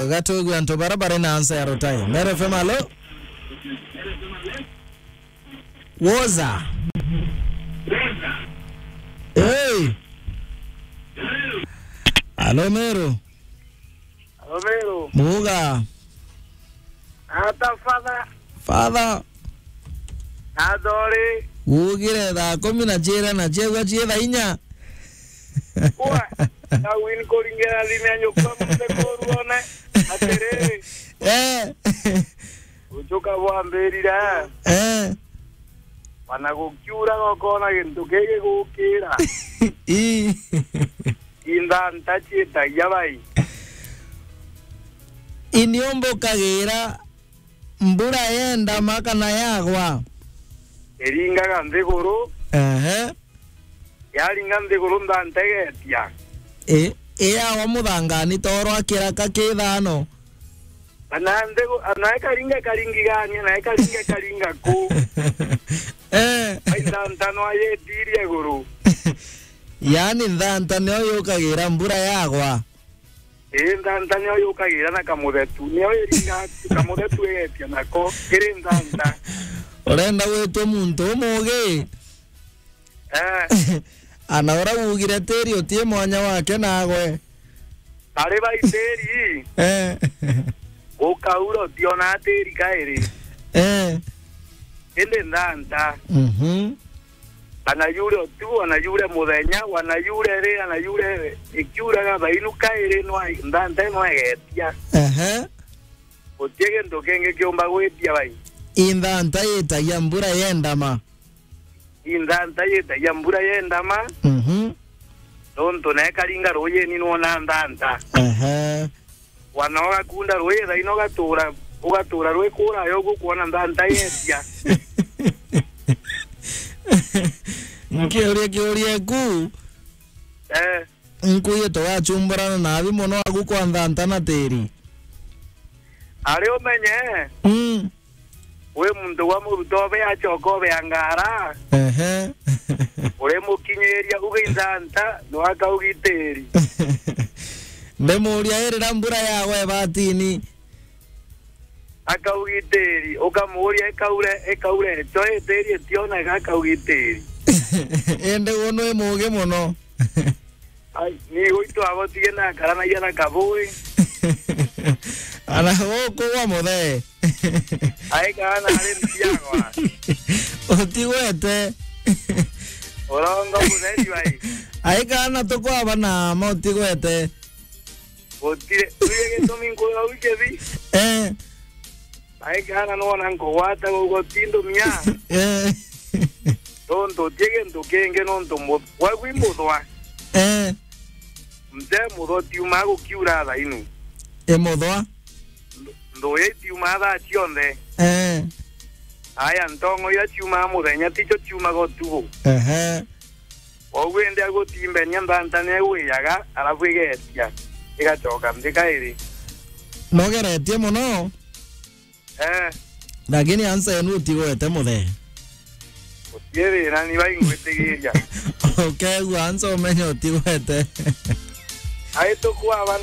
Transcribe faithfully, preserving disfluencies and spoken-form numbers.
Gatwigwe antu bara bari na ansa ya rutai. Meru F M, alo? Woza. Hey. Alo, Meru. Alo, Meru. Muga. Ata, Father. Father. Athori. Ugire thaa kumi na ciira na ciegua cii thaa inya. Kwa, na win kuringera thime ya nyukwa mute kuruone. Atiri. Eh. Uchuka bwambirire. Eh. Bana gukiura gokona gintu gigigukira. Ii. Inthanta ciitagia bai. Iniumbukagira mbura yenda ma kana yagwa. Iringaga nthiguru. Ehe. Yaringa nthiguru nthanta igeetia. I, iyagwa muthangani toro akiraka kithano. Ana nthiguru, ana ikaringa ikaringigania, na ikaringa ikaringa ku. Eh. Ai nthanta no ayetirie iguru. Yaani nthanta nio yukagira mbura yagwa. Ii, nthanta nio yukagira na kamuthetu. Nio iringa kamuthetu igeetia nako. Iri nthanta. Urenda gwitwa muntu umugi? Eh. Ana ura ugire tiri utie mwanya wake nagwe. Ari bai tiri. Eh. Ukaura utiona tiri kairi. Eh. Indi nthanta. Mhm. Ana yure utuku, ana yure muthenya, ana yure ri, ana yure ikiuraga thainu kairi nwa nthanta ino egetia. Ehe. Gutie gintu kingi kiumba gwitia bai. Inthanta yitagia mbura yendama. Inthanta yitagia mbura yendama. Mhm. Nontu na ikaringa rujini nwona nthanta. Ehe. Wana ugakunda rui thaino ugatura, ugatura rwi kurayo ugukwona nthanta yetia. Nkiuria kiuria ku. Eh. Nkuye tugachumburana nabi mono agu kwa nthanta na tiri. Ari umenye. Mm. Wi muntu wa muruta obe acoka obe angara. Ehe. Uri mukinyiria uge inthanta no akaugitiri. Ndimuria irira mbura yagwa ibatini. Akaugitiri, ukamuria ikaure, ikaure cho itiri itioneka akaugitiri. Indi uno imugi mono. Ai, ni gwitu abo tige na karanagia na kabui. Ana guku gwa muthee. Ai kana ari mbiagwa. Utigwete. Urongo mutheri bai. Ai kana tukwaba na ma utigwete. Gutire. Uye gitumi nkuga uike bi. Eh. Ai kana nona nkugwata gugo tindumia. Eh. Tontu utie gintu kingi nontu mu-, gwaku imuthwa. Eh. Mzee muthwa tiumaa gukiura thainu. Imuthwa? Nthuya itiumaa thaa cionthe. Eh. Aya ntongo iria ciumaa muthenya ticio ciumaga utuku. Ehe. Kwoguo indi agutimbenia nthantania igwijaga, alafu igeetia, igacoka nthi kairi. Nogeretie mono. Eh. Lakini ansa yenu utigwete muthee. Utie thina, ni baingwitigiria. Ukegua ansa umenye utigwete. Ai tukwaba na